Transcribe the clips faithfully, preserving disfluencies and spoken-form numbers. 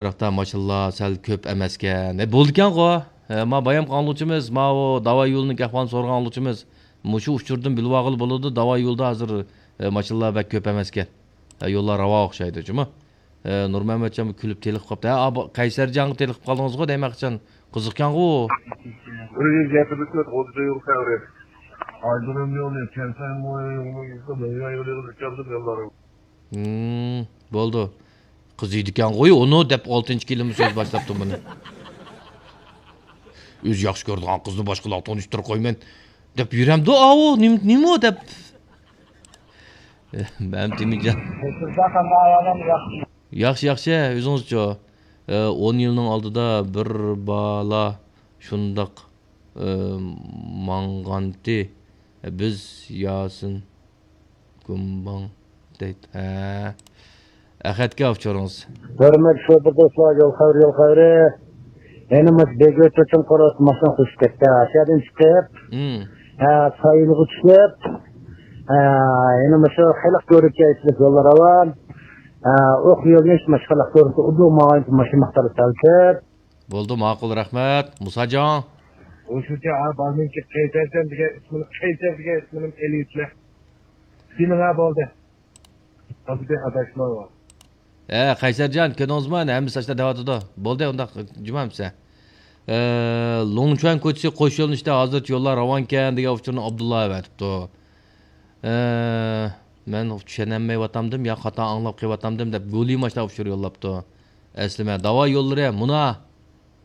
بىراقتا ماشىنىلار سەل كۆپ ئەمەسكەن. ھە، بولىدىكەنغۇ. ھە، ما بايام قاڭلىغۇچىمىز، ماۋۇ داۋا يولىنىڭ ئەھۋالىنى سورىغان ئاڭلىغۇچىمىز مۇشۇ ئۇچۇردىن بىلىۋالغىلى بولىدۇ. داۋا يولىدا ھازىر، ھە، ماشىنىلار بەك كۆپ ئەمەسكەن. ھە، يوللار راۋان ئوخشايدۇ جۇمۇ. ھە، نۇرمەمەتجانمۇ كۈلۈپ تېلىقىپ قاپتۇ. ھە، ئا، بۇ قەيسەرجانغا تېلىقىپ قالدىڭىزغۇ دەيمەن قاچان. قىزىقكەنغۇ. بىر يۈز يەتمىش تۆت ئوتتۇز يول خەۋىرى. ئايدۇرۇم يولى، كەنسەن يولى، يولى، يولى، يولى، يولى. ھىم، بولدى. قىزىيدىكەنغۇي ئۇنى دەپ ئالتىنچى كېلىمە سۆز باشلاپتۇ مۇنى. ئۆزى ياخشى كۆرىدىغان قىزنى باشقىلارغا تونۇشتۇرۇپ قويىمەن دەپ يۈرەمدۇ ئاۋۇ، نېمە، نېمە ئۇ دەپ. مەمتىمىنجان. ياخشى، ياخشى، ئۆزىڭىزچۇ؟ ئون يىلنىڭ ئالدىدا بىر بالا شۇنداق ئى، ماڭغانتى. بىز ياسىن گۇمباڭ دەيت. ھە. ئەخەتكە ئۇچۇرىڭىز. ھۆرمەتلىك شوپۇر دوستلار، يول خەۋىرى، يول خەۋىرى. يەنە مۇشۇ بېگۆتۈرچۈم قورۇس ماشىنا قوشۇپ كەتتى. ئاشۇ يەردىن چىقىپ، مم. ھە، سايىلغا چۈشۈپ، ھە، يەنە مۇشۇ خەلق كۆرۈككە ئېچىلىپ يوللار راۋان. ھە، ئوق يولنى مۇشۇ خەلق كۆرۈككە ئۇدۇق ماڭغان ماشىنا مىقدارى سەل كۆپ. بولدى، ماقۇل، رەھمەت. مۇساجان. ئوشۇنچە، ھە، بارمىنكى قەيسەرجان دېگەن ئىسمىنى، قەيسەر دېگەن ئىسمىنى ئېلىۋېتىلە. سېنىڭ، ھە، بولدى. ھازىر ئاداشما بار. ھە، قەيسەرجان، كۆردىڭىزمۇ؟ ئەنە ھەممىسى ئاشۇنداق دەۋاتىدۇ. بولدى، ئۇنداق جۇمۇ ئەمىسە. ئە، لۇڭچۈەن كوچىسى قوش يۆنىلىشتە ھازىرچە يوللار راۋانكەن دېگەن ئۇچۇرنى ئابدۇللا ئەۋەتىپتۇ. ئە، مەن چۈشەنەلمەيۋاتامدىم يا خاتا ئاڭلاپ قېلىۋاتامدىم دەپ گۇلىما ئاشۇنداق ئۇچۇر يوللاپتۇ. ئەسلىمە، داۋا يوللىرى مۇنا.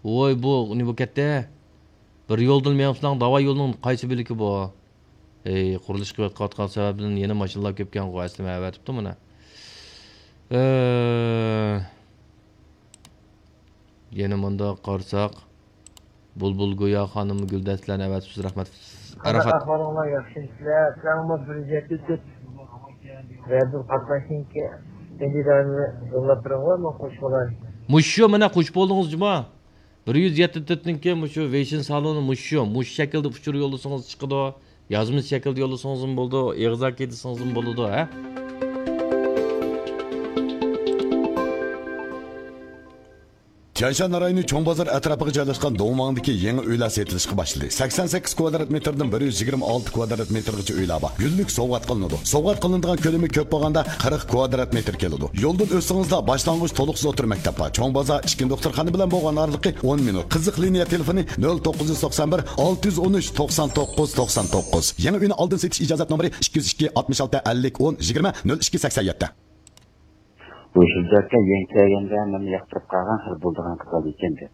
ۋوي، بۇ نېمە بولۇپ كەتتى؟ بىر يولدىن مېڭىپسىلەر، داۋا يولنىڭ قايسى بۆلىكى بۇ؟ ئەي، قۇرۇلۇش قىلىۋاتقان سەۋەبىدىن يەنە ماشىنىلار كۆپكەنغۇ، ئەسلىمە ئەۋەتىپتۇ مانا. ئە، يەنە مۇنداق قارىساق، بۇلبۇل گويا خانىم گۈلدەستىلەرنى ئەۋەتىپسىز، رەھمەت. قانداق ئەرەفات. ئەھۋالىڭلار، ياخشىمۇسىلەر؟ سىلەرمۇ بىر يەتتە تۆت رەددىل قاتناشنىڭكى ئىندىدارىنى يوللاپ بېرىڭلار، مەن قوشۇپ ئالاي. مۇشۇ مانا قوشۇپ بولدىڭىز جۇما. بىر يۈز يەتتە تۆتنىڭكى مۇشۇ ۋېيشىن سالونى مۇشۇ، مۇشۇ شەكىلدە ئۇچۇر يوللىسىڭىز چىقىدۇ. يازما شەكىلدە يوللىسىڭىزمۇ بولىدۇ، ئېغىزاكى دېسىڭىزمۇ بولىدۇ، ھە؟ تيەنشان رايونى چوڭ بازار ئەتراپىغا جايلاشقان دۇڭۋاڭدىكى يېڭى ئۆيلەر سېتىلىشقا باشلىدى. سەكسەن سەككىز كۋادرات مېتىردىن بىر يۈز يىگىرمە ئالتە كۋادرات مېتىرغىچە ئۆيلەر بار. گۈللۈك سوۋغات قىلىنىدۇ. سوۋغات قىلىنىدىغان كۆلىمى كۆپ بولغاندا قىرىق كۋادرات مېتىر كېلىدۇ. يولدىن ئۆتسىڭىزلا باشلانغۇچ تولۇقسىز ئوتتۇرا مەكتەپ بار. چوڭ بازار ئىچكى دوختۇرخانا بىلەن بولغان ئارىلىقى ئون مىنۇت. قىزىق لىنىيە تېلېفونى نۆل توققۇز يۈز توقسان بىر، ئالتە يۈز ئون ئۈچ، توقسان توققۇز، توقسان توققۇز. يېڭى ئۆينى ئالدىن سېتىش ئىجازەت نومۇرى ئىككى يۈز ئىككى، ئاتمىش ئالتە، ئەللىك، ئون، يىگىرمە، نۆل ئىككى، سەكسەن يەتتە. بۇ شىلجاككا يېڭى كەلگەندە مېنى ياقتۇرۇپ قالغان خىل بولىدىغان قىزال ئىكەن دەپ.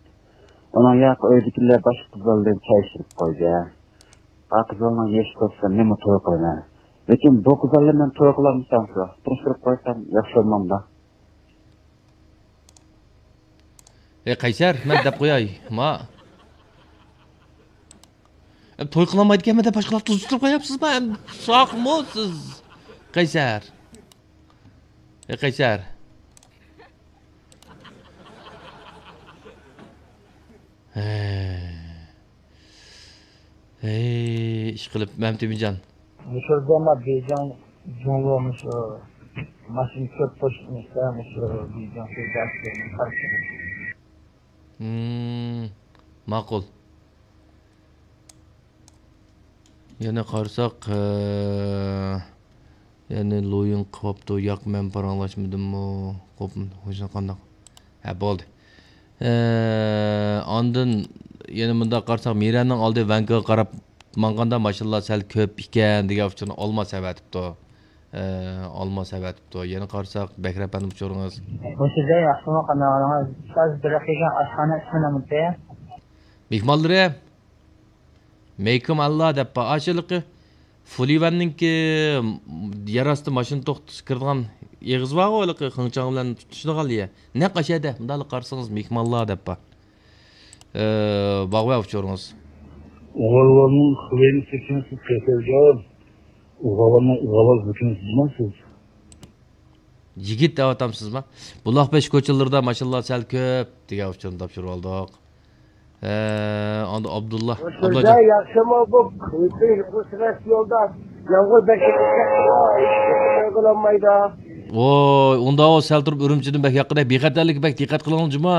ئۇنىڭ ياقى ئۆيدىكىلەر باشقا قىزال بىلەن چاي ئىچىپ قويدى. ئا قىزالنىڭ يېشى توشسا مېنىمۇ توي قىلىمەن. لېكىن بۇ قىزال بىلەن مەن توي قىلالمىسام شۇ، تونۇشتۇرۇپ قويسام ياخشى بولمامدۇ؟ ئەي قەيسەر، مەن دەپ قوياي، ما. ئەم، توي قىلالمايدىكەنمەن دەپ باشقىلارنى تۇزىتىپ قوياپسىزما؟ ئەم، ساقمۇ سىز؟ قەيسەر. ئەي قەيسەر. ھەي. ھەي، ئىشقىلىپ، مەمتىمىنجان. مۇشۇ زامان بېيجىڭ جۇڭگو مۇشۇ ماشىنا كۆپ قوشۇپ نېسە، مۇشۇ بېيجىڭ شۇ دەرسلىرىنى قارشى. مم، ماقۇل. يەنە قارىساق، ھە، يەنە لويىڭ قىپاپتۇ، ياق، مەن پاراڭلاشمىدىممۇ؟ قوپم-، قوشنا قانداق؟ ھە، بولدى. ھە، ئاندىن يەنە مۇنداق قارىساق، مىرەننىڭ ئالدى ۋەنكىگە قاراپ ماڭغاندا ماشىنىلار سەل كۆپ ئىكەن دېگەن ئۇچۇرنى ئالماس ئەۋەتىپتۇ. ھە، ئالماس ئەۋەتىپتۇ. يەنە قارىساق، بەكرى ئەپەندى ئۇچۇرىڭىز. مۇشۇ جاي ياخشىمۇ، قانداق ئاڭلىڭىز؟ ئۇستاز، بىر دەقىقە، ئاشخانا ئىسمى نېمىتى؟ مېھمانلىرى. مېيكىم ئاللا دەپ بار. ئاشۇ ھېلىقى فۇلىۋەننىڭكى يەر ئاستى ماشىنا توختىتىش كىرىدىغان ئېغىز بارغۇ، ھېلىقى خېڭچاڭ بىلەن تۇتىشىدىغان يەر. نەق ئاشۇ يەردە. مۇنداقلا قارىسىڭىز، مېيكىم ئاللا دەپ بار. ئە، باغۋە ئۇچۇرىڭىز. ئۇغالۋاننىڭ خۇۋېنى سېكىنسىز قېتىلگەن. ئۇغالۋاننىڭ ئۇغالاز بىكىنسىز دېمەمسىز؟ يىگىت دەۋاتامسىزما؟ بۇلاق بېشى كوچىلىرىدا ماشىنىلار سەل كۆپ دېگەن ئۇچۇرنى تاپشۇرۇۋالدۇق. ھە، ئاندىن ئابدۇللا. ئابدۇللا شۇنداق ياخشىمۇ بۇ؟ بۇ سىرەس يولدا يامغۇر بەك كېلىپ كەتتىغۇ، ھېچ قايغىلانمايدۇ. ۋوي، ئۇنداق سەل تۇرۇپ ئۈرۈمچىدىن بەك ياققىدەك، بىخەتەرلىككە بەك دىققەت قىلىڭ جۇما.